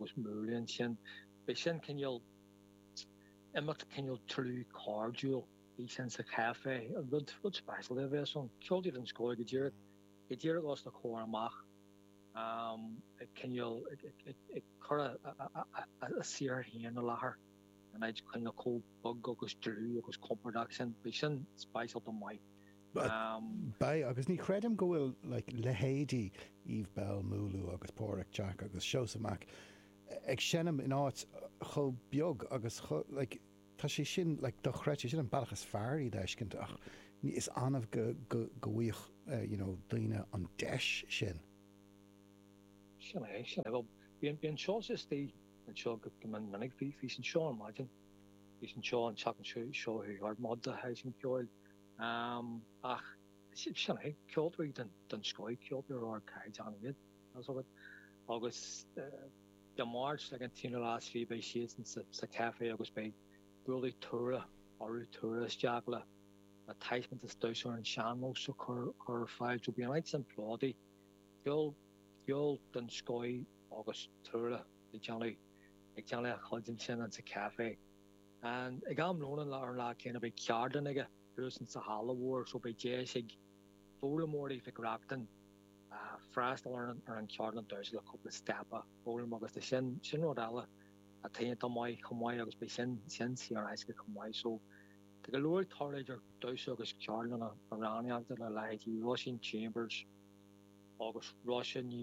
agus Múlú ansin. Beidh sin cineál imeacht cineál dlúth cairdiúil thíos in sa chaifé, rud rud speisialta a bheas ann. Ceoltóirí den scoth go díreach go díreach os na comhair amach ag cineál ag cur a saothar féin i láthair in áit cineál chomh beag agus dlúth agus compordach sin. Beidh sin speisialta maith. Beidh, agus ní chreidim go bhfuil like leithéidí Eve Belle, Múlú agus Páraic Jack agus Seosamh Mac ag seinm in áit chomh beag agus chomh like tá sé sin like dochreidte, sin an bealach is fearr iad a fheiscint ach is annamh go go go bhfaigheadh you know daoine an deis sin. Sin é, sin é. Bhuel, bíonn, bíonn Seosamh istigh anseo go mion minic. Bhí, bhí sé anseo ar maidin. Bhí sé anseo an tseachtain seo, seo chuaigh thart, maith do sheisiún ceoil. Ach sin é, ceoltóirí den, den scoth, ceoltóirí ar ardchaighdeán iad, tá 's agat. Agus Dé Máirt, ag an t-aonú lá is fiche, beidh siadsan sa, sa chaifé agus beidh bualadh tuaire orthu, tuaire isteach le, le taispeántas damhsa ar an sean-nós a chur, chur ar fáil. So beidh an áit sin plódaithe. Ceol, ceol den scoth agus tuaire ag déanamh, ag déanamh a chuid ansin in sa chaifé. Ag am lóin an ar an lá céanna beidh ceardlann aige thuas in sa halla mhór so beidh deis ag foghlaimeoirí Mhic Reachtain freastal ar an ar an cheardlann damhsa le cúpla steip a fhoghlaim agus tá sin sin rud eile atá iontach maith chomh maith agus beidh sin sin saor in aisce chomh maith so tá go leor ag tarlú idir damhsa agus ceardlanna amhránaíochta le leithéidí Róisín Chambers agus Róise Ní.